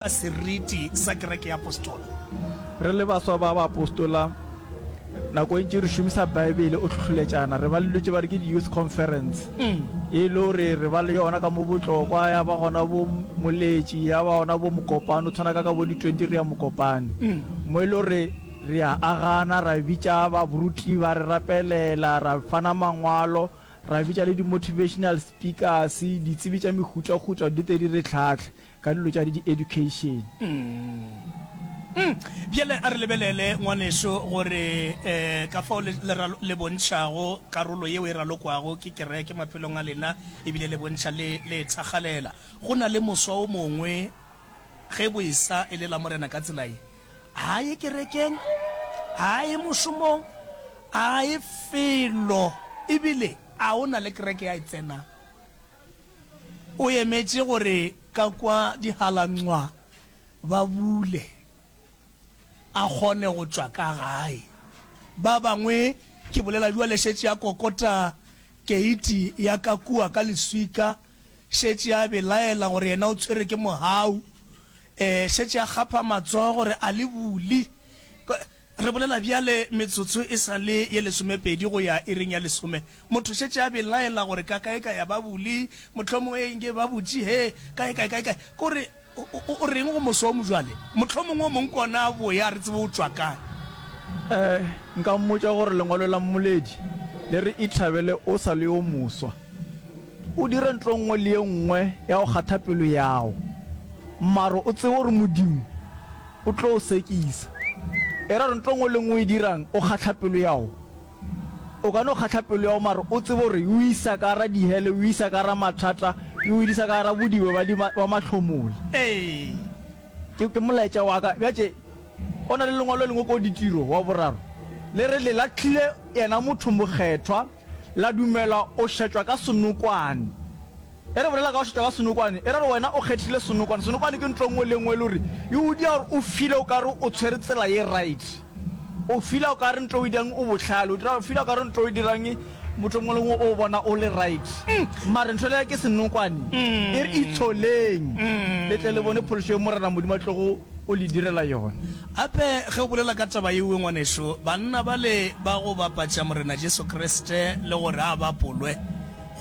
Seriti sa kereke ya Apostola. Re le baswa ba baapostola, nako e ntši re šomisa Baebele o hlohloletšana. Re ba le dilo tše ba re ke di-youth conference, e le gore re ba le yona ka mo Botlokwa, ya ba gona bo Moletši, ya ba gona bo Mokopane, o tshwana ka ka bo di-twenty re ya Mokopane. Mo e le gore re a agana, ra bitša baruti ba re rapelela, ra fana mangwalo, ra bitša le di-motivational speakers, ditsebi tša mehutahuta di tle di re hlahle. Ka dilo tša di education. Mm. Bjale a re lebelele, ngwaneso, gore eh, ka fao le, le, le bontšhago karolo yeo e ralokwago ke kereke maphelong a lena, ebile le bontšha le, le e thakgalela. Go na le moswa o mongwe, ge bo esa e le Lamorena ka tsela ye, ga a ye kerekeng, ga a ye mošomong, ga a ye felo, ebile a o na le kereke ya e tsenang. O emetše gore ka kwa dihalanqwa ba bule, a kgone go tšwa ka gae. Ba bangwe, ke bolela bjale, šetše a kokota keiti ya ka kua ka leswika, šetše a belaela gore yena o tshwere ke mogau, e, šetše a kgapha matsogo gore a le bule. Re bolela bjale metsotso e sa le ye lesomepedi go ya iring ya lesome. Motho šetše a belaela gore ka kae ka ya ba bule, mohlomongwe e nke ba butše he, kae kae kae kae. Ke gore o, o, o reng go moso o mojwale? Mohlomongwe o mongwe ke ona a boya, a re tsebe o tšwa kae. Eh, nka mmotša gore lengwalo la Mmoledi le re Ithabele o sa le yo moswa. O dire ntlo nngwe le ye nngwe ya go kgatha pelo yago, mare o tsebe gore Modimo O tlo o sekisa. E ra gore ntho nngwe le nngwe o e dirang o kgahla pelo ya go. O ka no kgahla pelo ya go mara o tsebe gore e o isa ka gara dihele, e o isa ka gara mathata, e o isa ka gara bodibe ba di ba mahlomola. Ee. Ke ke molaetša wa ka. Bjatše go na le lengwalo le lengwe ko Ditiro wa boraro le re le lahlile yena motho mokgethwa la dumela o šetšwa ka senokwane. Ge re bolela ka go šetšwa ka senokwane, e ra gore wena o kgethile senokwane. Senokwane ke ntlo e nngwe le e nngwe e le gore e o dia gore o feel-e o ka re o tshwere tsela ye right. O feel-a o ka re ntlo o e dirang o bohlale, o dira o feel-a o ka re ntlo o e dirang motho o mongwe le mongwe o bona o le right. Mare ntho le ke senokwane, e re itsholeng le tle le bone phološo ye Morena Modimo a tlogo o le direla yona. Gape ge o bolela ka taba yeo, ngwanešu, banna bale ba go bapatša Morena Jesu Kriste le gore a bapolwe,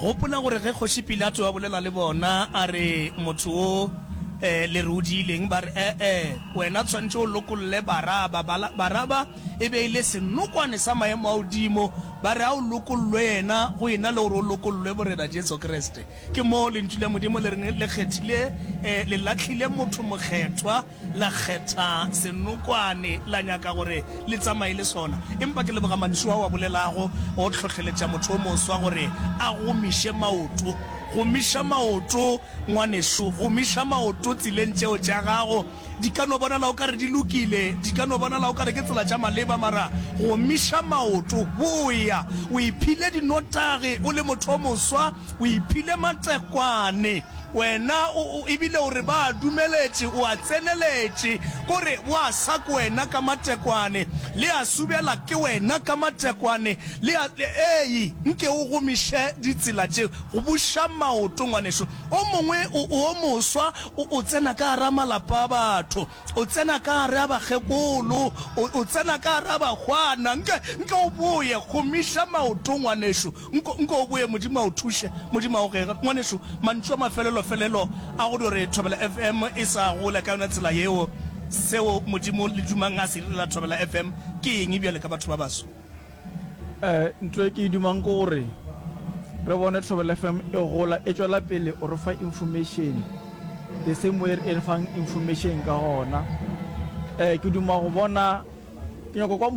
Gopola gore ge Kgoši Pilato a bolela le bona, a re, Motho wo le re o diileng? Ba re, E-e, wena tshwanetše o lokolle Baraba. Baraba e be e le senokwane sa maemo a godimo. Ba re, A o lokollwe yena go e na le gore o lokollwe Morena Jesu Kriste. Ke moo Lentšu la Modimo le reng le kgethile, le lahlile motho mokgethwa. La kgetha senokwane, la nyaka gore le tsamaye le sona. Empa ke leboga mantšu ao a bolelago go hlohleletša motho o moswa gore a gomiše maoto. Gomiša maoto, ngwanešu, gomiša maoto tseleng tšeo tša gago. Di ka no bonala o ka re di lokile, di ka no bonala o ka re ke tsela tša maleba, mara gomiša maoto, boya. O iphile dinotagi o le motho o moswa, o iphile matekwane. Wena o, o, ebile o re ba a dumeletše, o a tseneletše, ko re wa sa ke wena ka matekwane, le a subela ke wena ka matekwane, le a, le, ei, nke o gomiše ditsela tše, go buša maoto, ngwanešu. O mongwe o, o moswa, o, o tsena ka gara malapa a batho, o tsena ka gare a bakgekolo, o, o tsena ka gare a bahwana, nke, nke o boye, gomiša maoto, ngwanešu. Nko, nko o boye, Modimo a o thuše, Modimo a o gege. Ngwanešu, mantšu a mafelelo-felelo a go dio re Thobela FM e sa gola ka yona tsela yeo, seo Modimo le dumang a se direla Thobela FM ke eng bjale ka batho ba baso? Eh, ntho e ke e dumang ke gore re bone Thobela FM e gola, e tšwela pele o re fa information the same way e re fang information ka gona. Eh, ke duma go bona Ke nyaka kwa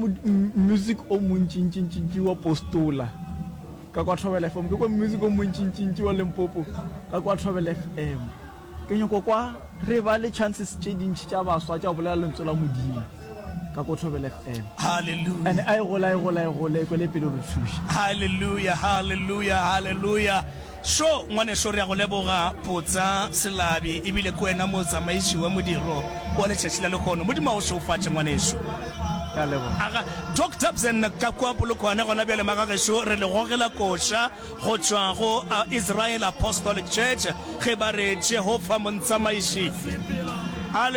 music o montšintšintšintši wa Postola ka kwa Thobela FM. Ke kwa music o montšintšintši wa Limpopo ka kwa Thobela FM. Ke nyaka kwa re ba le chances tše dintši tša baswa tša go bolela lentswe la Modimo ka ko Thobela FM. Hallelujah. And a e gola, e gola, e gola, e kwele pele re thuše. Hallelujah, hallelujah, hallelujah. Šo, ngwaneso, re a go leboga, Potsa Selabi, ebile ke wena motsamaiši wa modiro wa letšatši la lehono. Modimo a go šegofatše, ngwaneso. Ke a leboga. Aga, Doc Dobson, ka kua Polokwane gona bjale, magagešo, re le gogela koša go tšwa go Israel Apostolic Church, ge ba re, Jehofa Montsamaiši. A le.